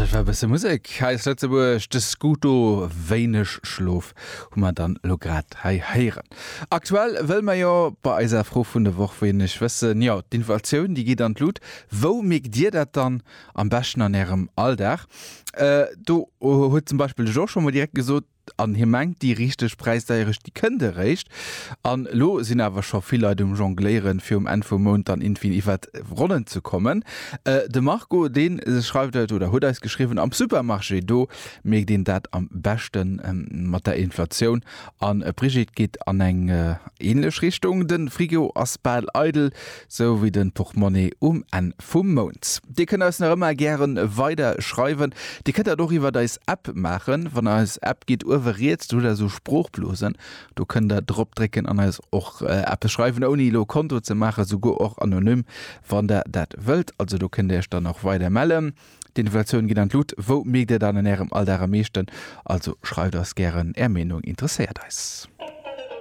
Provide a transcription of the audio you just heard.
An dat war e bësse Musek hei aus Lëtzebuerg, de Scooto, Wéineg Schlof hu mer dann elo grad hei héieren. Aktuell wëlle mer jo bei eiser Fro vun der Woch wéineg wëssen, jo d'Inflatioun déi geet an d'Lut, wou mierkt Dir dat dann am beschten an Ärem Alldag? Do huet zum Beispill de Georges scho mol direkt gesot, An hie mengt, déi richteg Präisdeierecht, déi kënnt eréischt. An elo sinn awer scho vill Leit um Jongléieren, fir um Enn vum Mount dann iergendwéi iwwert d'Ronnen ze kommen. De Marco, dee schreift eis oder huet eis geschriwwen, am Supermarché, do mierkt een dat am beschte mat der Inflatioun. An d'Brigitte geet an eng änlech Richtung, De Frigo ass bal eidel, Sou wéi den Portmonnaie um Enn vum Mount. Dir kënnt eis nach ëmmer gären weider schreiwen. Dir kënnt dat och iwwert eis App maachen. Wann der eis App gitt, uewe riets, do hutt der esou Sproochblosen, do kënnt der drop drécken an eis och eppes schreiwen, ouni elo e Konto ze maachen, souguer och anonym, wann der dat wëllt. Also do kënnt dir iech dann och weider mellen. D'Inflatioun geet an d'Lut. Wou mierkt dir dat an ärem Alldag am meeschten? Also schreift eis gären, är Meenung interesséiert eis.